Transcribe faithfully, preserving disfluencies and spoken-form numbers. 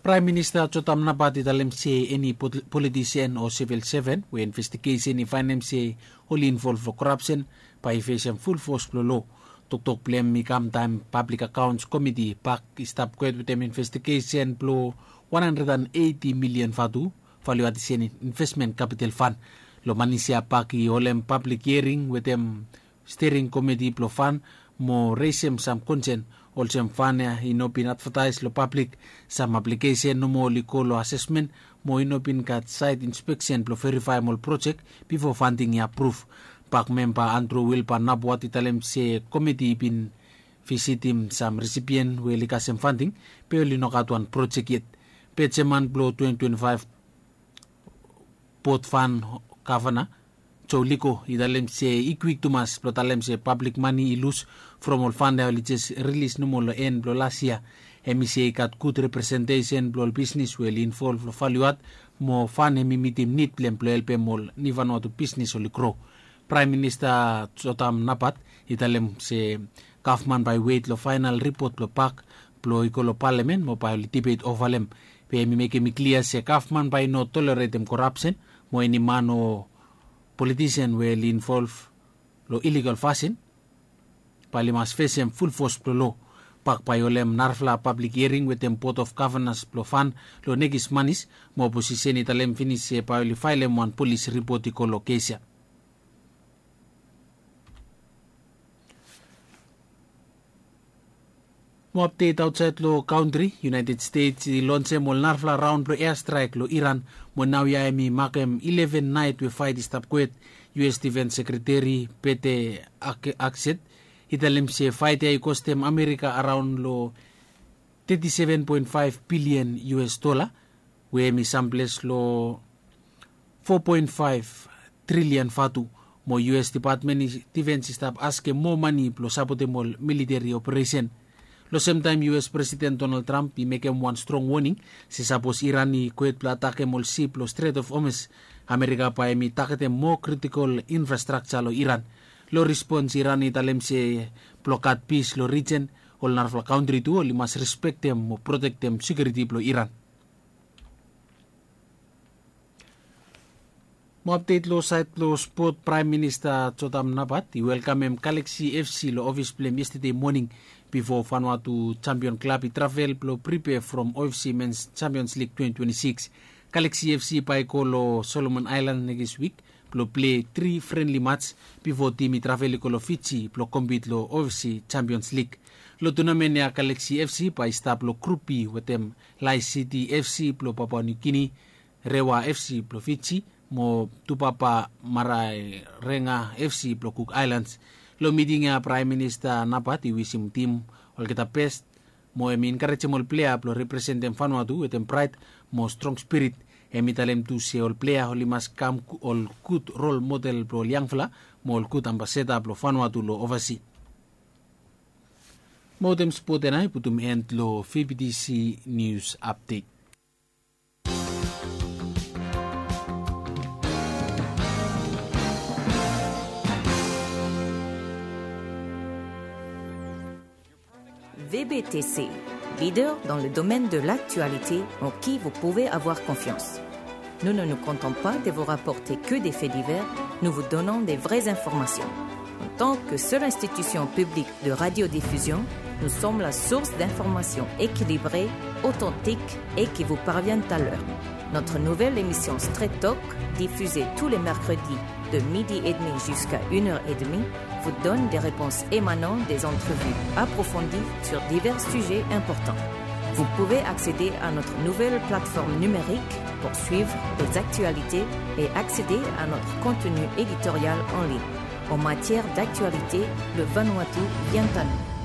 Praem Minista Jotam Napat i talem se eni politisen o sivil seven we investigesen i faenem se oli involv long korapsen bae i fesem fulfos blong lo. Toktok blong hem i kam taem Pablik Akaons Komiti, pak, i stap kwet wetem investigesen blong wan handred an eiti milian vatu, valuatisen investmen kapital fan. Long manis ya, pak i holem pablik hiering wetem stering komiti blong fan mo resem sam konsen, olsem fan ya i no bin advataes long pablik, sam aplikesen nomo oli go long asesmen, mo i no bin gat saet inspeksen blong verifaem ol projek bifo fanting i apruv. Pak memba Andru Wilba Napuat i talem se komiti i bin visitim sam risipien we oli kasem fanting, be oli no gat wan projek yet. Be jeman blong twenti twenti faef bot fan gavana Joe Leko i talem se i kwik tumas blong talem se pablik mane i lus from ol fan ya oli jes rilis nomo long en blong las yia. Hem i se i gat gud representesen blong ol bisnis we oli involv long valuat mo fan hem i mitim nid blong hem blong helpem ol nivanwatu bisnis oli gro. Praem Minista Jotam Napat i talem se gavman bae i wet long faenal ripot blong pak blong i go long palamen mo bae oli dibet ova long hem. Be hem i mekem i klia se gavman bae i no toleretem korapsen mo eni man o politisen we oli involv long iligal fasin bae oli mas fesem fulfos blong lo. Pak bae i holem narafala pablik hiering wetem bot of gavanas blong fan long nekis manis, mo oposisen i talem finis se bae oli faelem wan polis ripot i go long kes ya. Mo apdet aotsaed long kantri, United States i lonsem ol narafala raon blong eastraek long Iran, mo naoia hem i makem ileven naet we faet i stap kwet. U S Defens Sekreteri Pete Hegseth i talem se faet ya i kostem Amerika araon long teti seven poen faef bilian U S dola, we hem i samples long fo poen faef trilian vatu, mo U S Depatmen Defens i stap askem moa mane blong sapotem ol militeri operesen. Long semtaem U S Presiden Donald Trump i mekem wan strong woning se sapos Iran i kwet blong atakem ol sip long Strait of Hormuz, Amerika bae hem i tagetem moa kritikol infrastrakja long Iran. Long rispons Iran i talem se blong gat pis long rijen, ol narafala kantri tu oli mas respektem mo protektem sekiuriti blong Iran. Mo apdet long saed blong spot, Praem Minista Jotam Napat i welkamem Galaxy F C long ofis blong hem yestede moning, bifo Vanuatu Champion Klab i travel blong pripea from O F C Men's Champions League twenti twenti sikis. Galaxy F C bae i go long Solomon Aelan nekis wik blong plei tri frenli mats bifo tim i travel i go long Fiji blong kompit long O F C Champions League. Long tunamen ya Galaxy F C bae i stap long Grup B wetem Lae City F C blong Papua New Guinea, Rewa F C blong Fiji, mo Tupapa Maraerenga F C blong Cook Islands. Long miting ya Praem Minista Napat i wisim tim olgeta bes, mo hem i enkarejem ol plea blong representem Vanuatu wetem praed mo strong spirit. Hem i talem tu se ol plea oli mas kam ol gud rol model blong ol yangfala mo ol gud ambasada blong Vanuatu long ovasi. Mo wetem spot ya nao i putum en long V B T C News Update. V B T C, leader dans le domaine de l'actualité en qui vous pouvez avoir confiance. Nous ne nous contentons pas de vous rapporter que des faits divers, nous vous donnons des vraies informations. En tant que seule institution publique de radiodiffusion, nous sommes la source d'informations équilibrées, authentiques et qui vous parviennent à l'heure. Notre nouvelle émission Straight Talk, diffusée tous les mercredis de midi et demi jusqu'à une heure et demie, vous donne des réponses émanant des entrevues approfondies sur divers sujets importants. Vous pouvez accéder à notre nouvelle plateforme numérique pour suivre les actualités et accéder à notre contenu éditorial en ligne. En matière d'actualité, le Vanuatu vient à nous.